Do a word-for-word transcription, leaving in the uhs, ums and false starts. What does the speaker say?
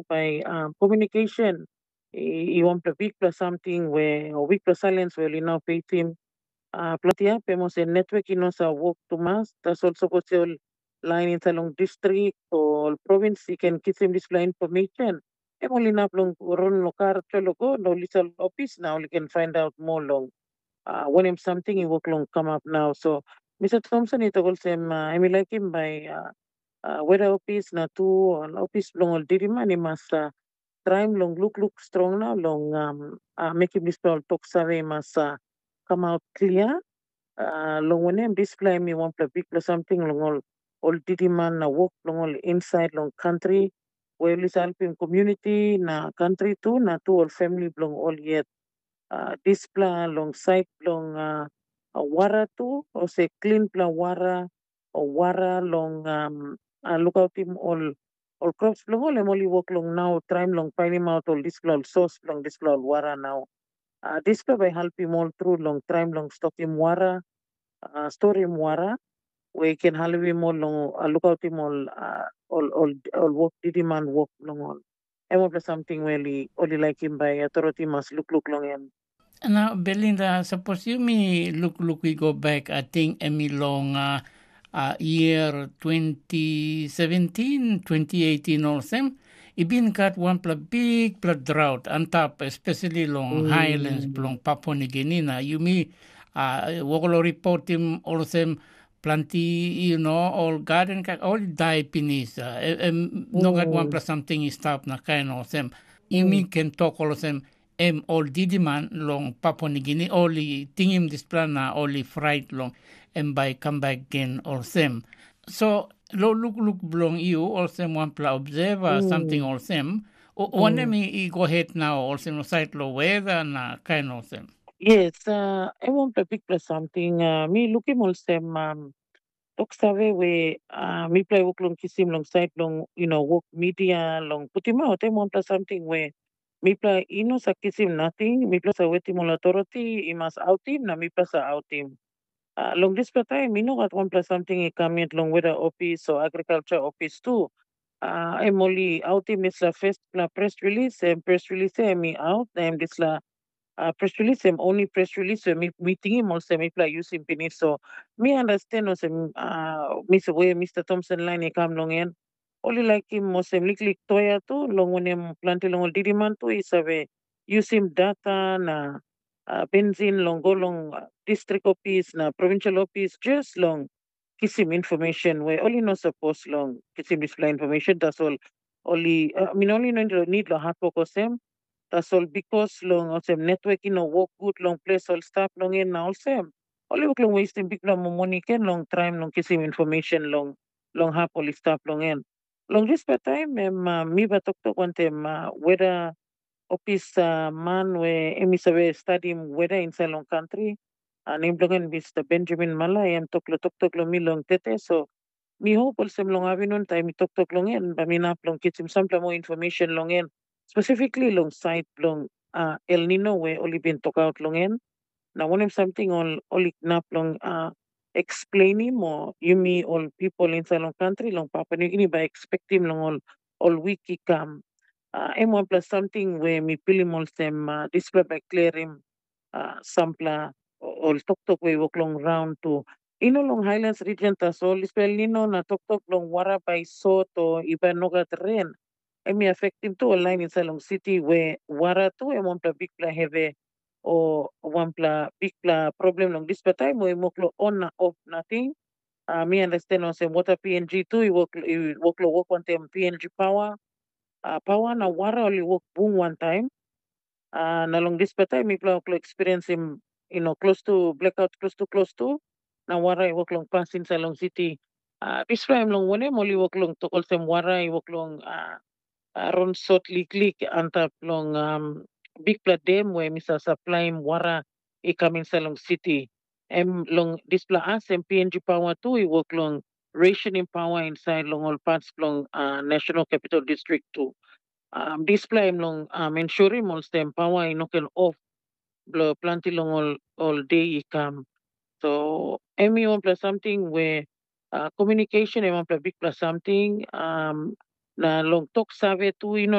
bai um, communication i, i wanpela bikpela samting we o bikpela silence we ol i no peitim. Uh, planti hap em olsem network i no sa wok tumas, tasol sapos ol lain inside long distrik o ol provins i ken kisim dispela information, em ol inap long run long kar tolo go na ol i sal ofis na ol i ken find out more long uh, wanem samting i wok long kamap nau. So Mr. Thompson i tok olsem uh, em i laikim bai uh, uh, weda ofis na tu ol ofis bilong ol diriman i mas uh, traim long lukluk strong na long um, uh, mekim dispela ol tok save i mas uh, kamaut klia. Uh, long wanem dispela em i wanpela bikpela samting long ol ol diriman na wok bilong ol insait long kantri, we ol i helpim komuniti na kantri tu na tu ol famili bilong ol yet. Uh, dispela long sait bilong uh, uh, wara tu, olsem klinpela wara o wara long um, uh, lukautim ol ol crops bilong ol, em ol i wok long nau traim long painim aut ol dispela ol sos bilong dispela ol wara nau. Uh, dispela bai helpim ol tru long traim long stokim wara, uh, storim wara, we i ken helpim ol long uh, lukautim ol, uh, ol, ol, ol wok diriman wok bilong ol. Em olpela samting we ol i, ol i laikim bai authority mas lukluk long em. Na Belinda, sapos yumi lukluk i go bek, ating em i long uh, uh, year twenty seventeen, twenty eighteen olsem, i bin gat wanpela bikpela drought antap, especially long mm. highlands bilong Papua New Guinea. Na yumi uh, wokolo reportim olsem, planti you know, ol garden ka ol i dai pinis. Uh, em no gat wanpela samting i stap na kain olsem. Yumi ken tok olsem, em ol didiman long Papua Nigini ol i tingim dispela na ol i frait long em bai kam bek gen olsem. So lo lukluk bilong yu olsem wanpela observer mm. samting olsem, wanem mm. i go het nau olsem sait lo weda na kain olsem? Yes, uh, em wanpela bikpela samting uh, mi lukim olsem um, tok save we uh, mipela i wok long kisim long sait long you know, wok media long putim aut em wanpela samting we mipela i no sa kisim nating, mipela sa wetim ol authority i mas autim na mipela sa autim. Uh, long dispela taim i no gat wanpela samting i kam yet long weda ofis o agriculture ofis tu. Uh, em ol i autim dispela firstpela press release, em press release em i aut na em dispela uh, press release em only press release em mi tingim olsem mipela yusim pinis. So mi understand olsem uh, mis we Mr. Thompson line i kam long en, ol i laikim olsem liklik toya tu, long wanem planti long ol diriman tu i save yusim data na uh, benzin long go long uh, district office na provincial office just long kisim information we ol i no sapos long kisim dispela information, tasol ol i uh, min ol i no nid long hatwok olsem, tasol bikos long olsem netwok i no wok gut long ples ol stap long en na olsem, ol i wok long westim bikpela moni ken long traim long kisim information long long hap ol i stap long en. Long dispela taim em uh, mi bai toktok wantaim uh, weda opis uh, man we em i save stadim weda insait long kantri, uh, nem bilong en Mr. Benjamin Mala, em tok long toktok long mi long tete. So mi hop olsem long avinun taim mi toktok long en, bai mi inap long kisim sampela moa information long en, specifically long sait bilong uh, El Nino we ol i bin tokaut long en. Na wanem samting ol ol i inap long uh, explainim o yumi ol pipol insait long kantri long Papua Nugini bai expectim long ol ol wik i kam. Uh, em wanpela samting we mi pilim olsem uh, dispela bai klirim uh, sampela ol toktok we i wok long raun tu. I no long Highlands region tasol, dispela El Nino na toktok long wara bai sot o i bai no gat ren, em i afektim tu ol lain insait long siti we wara tu em wanpela bikpela hevi o wanpela bikpela problem long dispela taim we em wok long on na of nating. Uh, mi understand olsem water P N G tu i wok i wok long wok wantaim P N G power. Uh, power na wara ol i wok bung wantaim. Uh, na long dispela taim mipela wok long experiensim you know, close to blackout close to close to na wara i wok long pas insait long siti. Uh, dispela em long wanem ol i wok long tok olsem wara i wok long uh, uh, ron sot liklik antap long um, bikpela dem we mi sa saplaim wara i kam insait long siti. Em long dispela as em P N G power tu i wok long rationing power insait long ol parts bilong uh, National Capital District tu. Um, dispela em long um, ensurim olsem pawa i no ken of bilong planti long ol, ol de i kam. So em i wanpela samting we uh, communication em wanpela bikpela samting um, na long tok save tu i no